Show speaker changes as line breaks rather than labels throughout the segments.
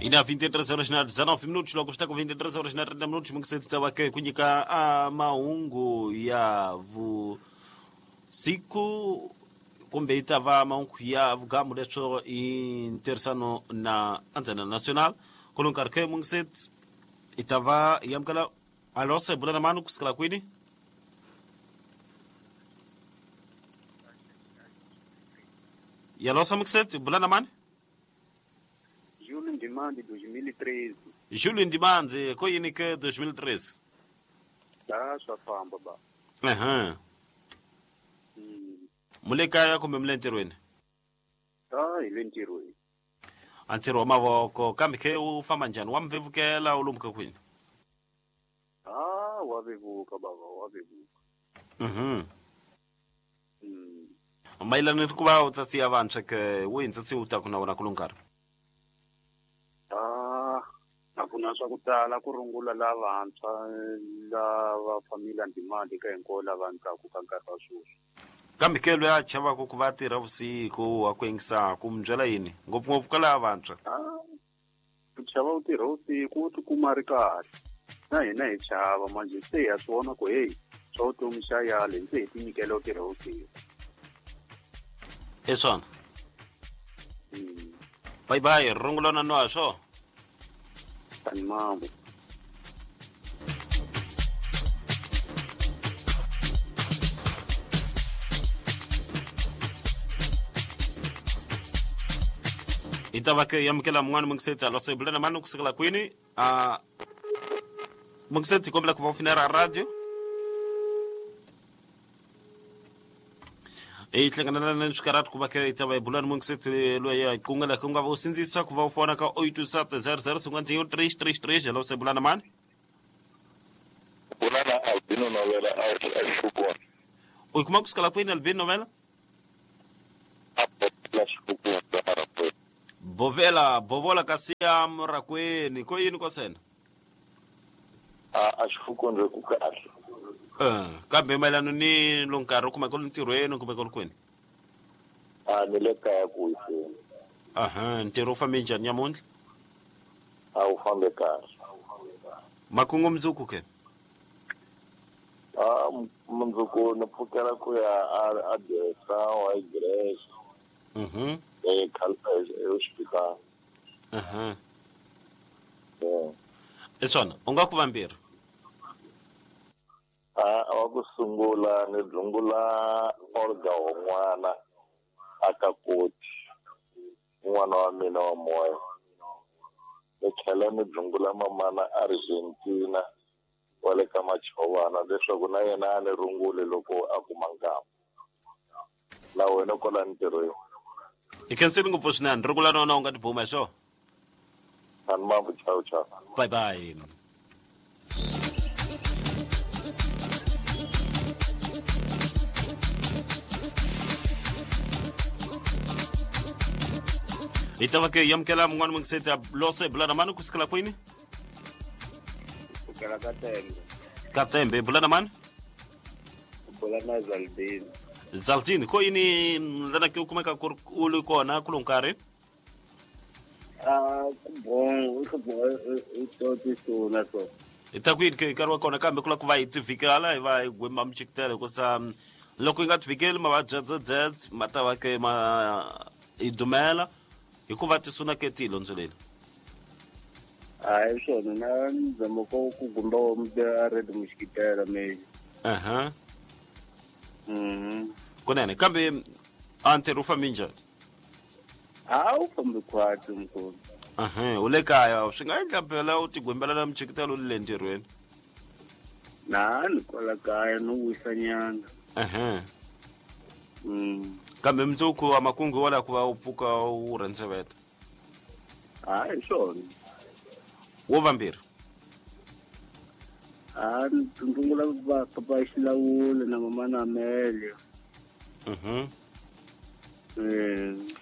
Ina 23 horas na 19 minutos, loko swi ta ku 23 horas na 30 minutos, mungiseti ta va ke ku nyika a mahungu ya vusiku kumbe yi ta va mahungu ya vugamu leswo i ntirhisano na Antena Nacional. Kulo nkarhi ke mungiseti i ta va yi amukela alo se bula na mani kusukela kwini? Yalosa mungiseti bula na mani?
Júlio Ndimande 2013.
Júlio Ndimande, ko yini ke 2013?
Da swa famba ba.
Ehe. Mule kaya kumbe mule ntirhweni?
Da hi le ntirhweni.
A ntirho wa mavoko kambe ke u famba njhani? Wa mi vevukela u lomuka kwini?
Ah, wa vevuka baba, wa vevuka.
Mayelana ni ku va u tsatsiya vantshwa ke wihi ntsatsi u taku na wona kulo nkarhi?
Ah, a ku na swa ku tala ku rungula lavantshwa lava familia Ndimande ka hinkwavo lava ndzaku ka nkarhi wa sweswi.
Kambe ke loyi a chavaka ku va tirha vusiku wa ku yingisaku mi byela yini ngopfungopfu ka lava vantshwa?
Ah, ku chava ku tirha vusiku u tikuma a ri kahle na hina hi chava manje se hi ya swi vona ku heyi swa vutomi xa yale se hi tinyikela ku tirha vusiku.
I swona. Bye bye, rungula na nwa swo.
Tani mambo.
Hi ta va ke amukela mun'wana mungiseti alo se bula na mani kusukela kwini? A mungiseti kombela ku va u finera radio. Hi hlanganela na swikarhati ku va ke hi ta va hi bula ni mungiseti loyi a qungela ku nga va u sindzisa ku va u fona ka 827 00 51 333. Hello, se bula na mani?
Bula na Albino Novela a Xikukwana.
U yi kuma kusukela kwini Albino Novela? Bovela, bovola kasi ya Murakweni. Ko yini ko sena?
A Xikukwana ku kahle.
Kambe mayelana ni lo nkarhi kumbe ku ntirhweni kumbe ku ri kwini?
A ni le kaya ku wiseni.
Aha, ntirho wu fambe njhani nyamuntlha?
A wu fambe kahle.
Makungu mundzuku ke?
A mundzuku ni pfukela ku ya a Desa wa Grace. Hospital.
I swona, u nga ku vambirhi?
A wa ku sungula ni dlungula Olga Hon'wana a ka Koti, n'wana wa mina wa moya. Ni tlhela ni dlungula mamana Argentina wa le ka Machovana leswaku na yena a ni rungule loko a kuma nkama. Na wena kwala ntirhweni.
Hi khensile ngopfu swinene, rungula na wena u nga tibuma hi swona.
Ani mambo, chao chao.
Bye bye. Hi ta va ke yamukela mun'wana mungiseti a lose bula na mani kusukela kwini?
Kusukela ka Tembe.
Ka Tembe, bula na mani?
Bula na Zaldini.
Zaldini, ko yini lana ke u kumeka ku ri u ri kona kulo nkarhi?
A ku bon, ku bon i to tisuna so.
Hi ta ku yini ke nkarhi wa kona kambe ku lava ku va hi tivikela hi va hi gwema michikitelo hikusa loko yi nga tivikeli mavabyi ya dzedzedze ma ta va ke ma hi dumela hikuva tisuna ke ti hi londzoleli.
Hayi swona na nzamo ko ku gumba wa mute a red muxikitela me.
Aha. Kunene kambe a ntirho wu fambe njhani?
A wu fambi khwatsi mkhulu.
Aha, u le kaya swi nga endla phela u tigwembela na michikitelo u le ntirhweni.
Na ni kwala kaya no wisa nyana.
Aha. Kambe mundzuku wa makungu wa la ku va u pfuka u rhendzeveta.
Hayi swona.
Wo vambirhi.
A ni rungula va papa Xilawula na mama na Amelia.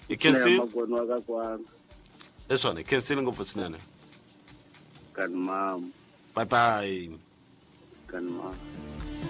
I khensile?
Na magwani wa ka kwana.
I swona, i khensile ngopfu swinene.
Kani mama.
Bye bye.
Kani mama.